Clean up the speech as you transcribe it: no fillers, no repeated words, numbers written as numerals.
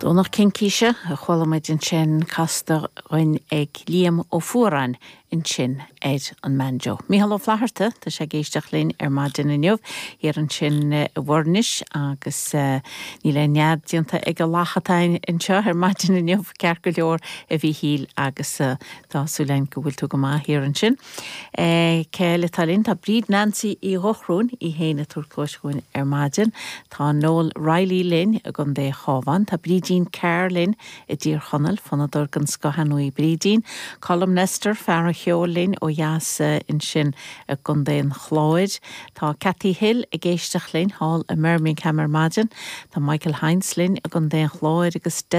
Domhnach Cincíse a chuala muid ansin casta dhuinn ag Liam Ó Fuaráin ansin ar an mbanjo. Mícheál Ó Flatharta, tá sé ag éisteacht linn ar maidin inniu, thiar ansin i bhFoirnis agus níl aon nead déanta ag an lacha atá anseo ar maidin inniu, ceart go leor a Mhíchíl agus tá súil againn go bhfuil tú go maith thiar ansin. Cé eile atá linn? Tá Bríd Nancy Uí Dhochróin í féin ag tabhairt cluais dhúinn ar maidin. Tá Noel Reilly linn i gContae an Chabháin. Tá Brídín Carr linn i dTír Chonaill, fonnadóir den scoth ar ndóigh Brídín. Colm Nestor, fear an cheoil linn ó dheas ansin i gContae an Chláir. Tá Cathy Hill ag éisteacht linn thall i mBirmingham ar maidin. Tá Michael Hynes linn i gContae an Chláir agus.